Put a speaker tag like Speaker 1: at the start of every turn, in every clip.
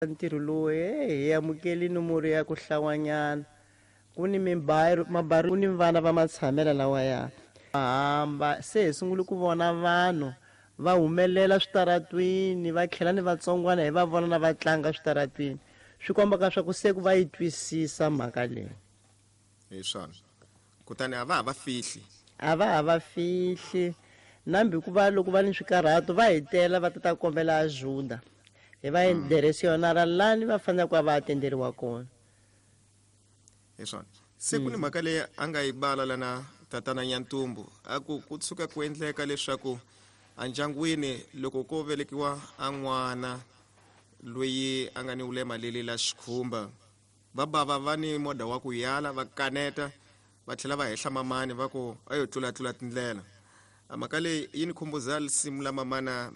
Speaker 1: Ntirho lowu hi amukeli nomoro ya ku hlawanyana ku ni mibari mabari ku ni vana va matshamela lawaya hamba se hi sungule ku vona vanhu va humelela switaratwini va tlhela ni vatsongwana hi va vona na va tlanga switaratwini swi kombaka swa ku se ku va yi twisisa mhaka leyi.
Speaker 2: Hi swona kutani a va ha va fihli.
Speaker 1: A va ha va fihli nambi ku va loko va ni swikarhato va hi tela va ta ta kombela ajuda hi va direcionara lani va fanele ku va va atenderiwa kona.
Speaker 2: Hi swona se ku ni mhaka leyi a nga yi bala lana tatana Nyantumbu a ku ku tshuka ku endleka leswaku endyangwini loko ko velekiwa a n'wana loyi a nga ni ulema leli la xikhumba va bava va ni moda wa ku yala va kaneta va tlhela va hehla mamani va ku a yo tlulatlula tindlela. A mhaka leyi yi ni khumbuza risimu la mamana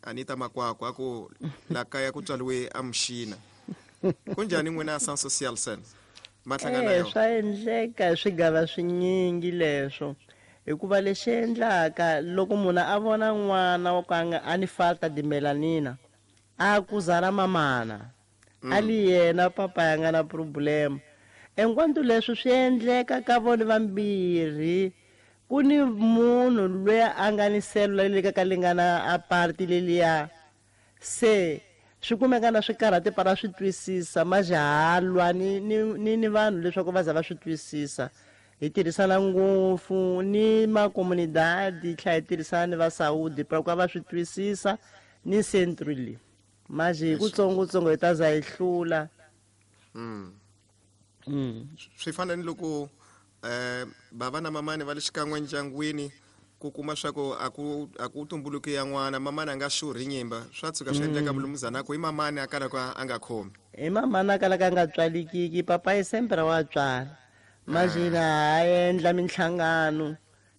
Speaker 2: Anita Makwakwa a ku la kaya ku tswariwe a muxina. Kunjhani n'wina Sans Social Sen ma hlangana
Speaker 1: yona? Swa endleka hi swigava swinyingi leswo hikuva lexi endlaka loko munhu a vona n'wana wa ku a nga a ni falta de melanina a akuzana mamana a li yena papa ya nga na problema enquanto leswi swi endleka ka vona vambirhi ku ni munhu loyi a nga ni selula leyi ka ka lingana a party leliya se swi kumeka na swi karhati para swi twisisa majahalwa ni ni ni ni vanhu leswaku va za va swi twisisa hi tirhisana ngopfu ni makomunidadi tlhela hi tirhisana ni va Saudi para ku va swi twisisa ni centro leyi manje hi kutsongotsongo hi ta za hi hlula.
Speaker 2: Swi fana ni loko bava na mamani va le xikan'we ndyangwini ku kuma swa ku a ku a ku tumbuluki ya n'wana mamani a nga xurhi nyimba swa tshuka swi endleka mulumuzana ku i mamani a kalaka a nga khomi.
Speaker 1: Hi mamani a kalaka a nga tswalikiki papa yi sempre wa tswala manje na ha endla minhlangano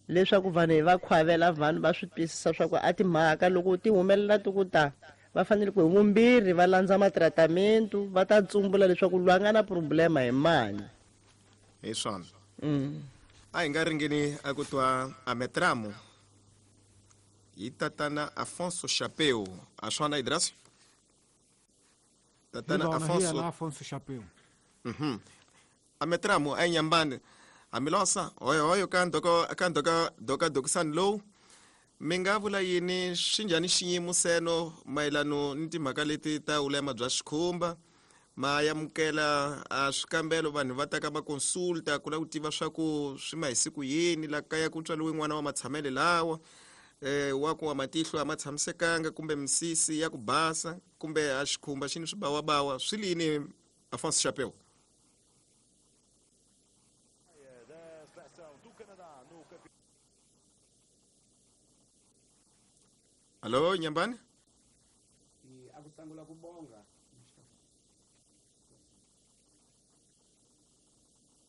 Speaker 1: leswaku vanhu hi va khwavela vanhu va swi twisisa swa ku a timhaka loko ti humelela ti ku ta va fanele ku hi vumbirhi va landza matratamentu va ta tsumbula leswaku loyi a nga na problema hi mani.
Speaker 2: Hi swona. A hi nga ringeni a ku twa ametramo hi tatana Afonso Chapeu a swona Idras tatana Afonso
Speaker 3: Afonso Chapeu.
Speaker 2: Ametramo a nyambani hamilosa hoyo hoyo ka ndoko ka ndoka doka dokisani lowu mi nga vula yini swi njhani xiyimo seno mayelano ni timhaka leti ta ulema bya xikhumba ma yamukela a swikambelo vanhu va ta ka va consulta ku lava ku tiva swa ku swi ma hi siku yini la kaya ku tswariwe n'wana wa matshamele lawa wa ku wa matihlo a ma tshamisekanga kumbe misisi ya ku basa kumbe a xikhumba xi ni swibawabawa swi lini Afonso Chapeu. Allo Nyambani?
Speaker 4: Akusangula kubonga.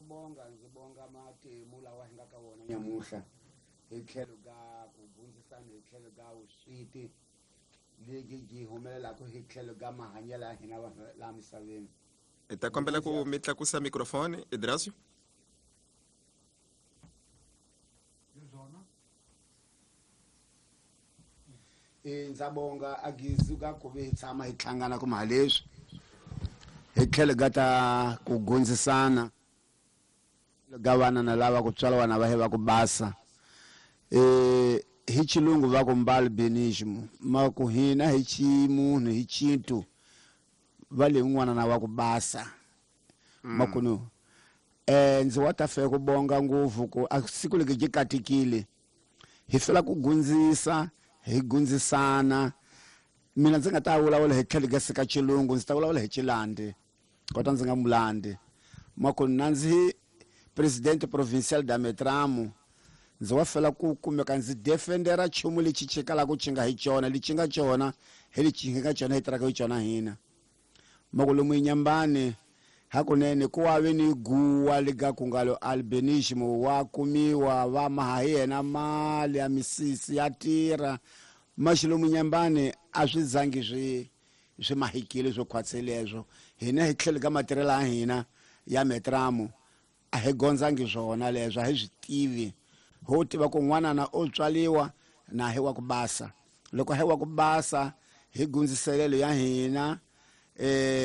Speaker 4: Bonga ndzi bonga matimu lawa hi nga ka wona nyamuhla hi tlhelo ka ku gundzisana hi tlhelo ka vusweti lebyi byi humelelaka hi tlhelo ka mahanyelo ya hina vanhu laha misaveni.
Speaker 2: Hi ta kombela ku mi tlakusa microphone Idrasio.
Speaker 4: Ndza bonga a gizu ka ku vi hi tshama hi hlangana kuma leswi hi tlhelo ka ta ku gundzisana ga vana na lava ku tswala vana va he va ku basa hi xilungu va ku mbalbinism ma ku hina hi ximunhu hi xintu va le n'wana na wa ku basa makunu ndzi wa ta fe ku bonga ngopfu ku a siku leki byi katekile hi fela ku gundzisa hi gundzisana mina ndzi nga ta vulavula hi tlhelo ka sika xilungu ndzi ta vulavula hi xilandi kota ndzi nga mulandi makunu na ndzi president provincial da Metramo ndzi wa fela ku kumeka ndzi defendera nchumu lexi chikalaka xi nga hi xona lexi nga xona hi lexi nga xona hi tirhaka hi xona hina makulumu Nyambani hakunene ku wa ve ni guwa lega ku nga lo albinism wa kumiwa va maha hi yena mali ya misisi ya tirha maxilomu Nyambani a swi zangi swi swi mahikile swo khwatse leswo hina hi tlhelo ka matirhelo ya hina ya Metramo a hi gondzangi swona leswo a hi swi tivi ho tiva ku n'wanana o tswaliwa na hi wa ku basa loko hi wa ku basa hi gundziselelo ya hina.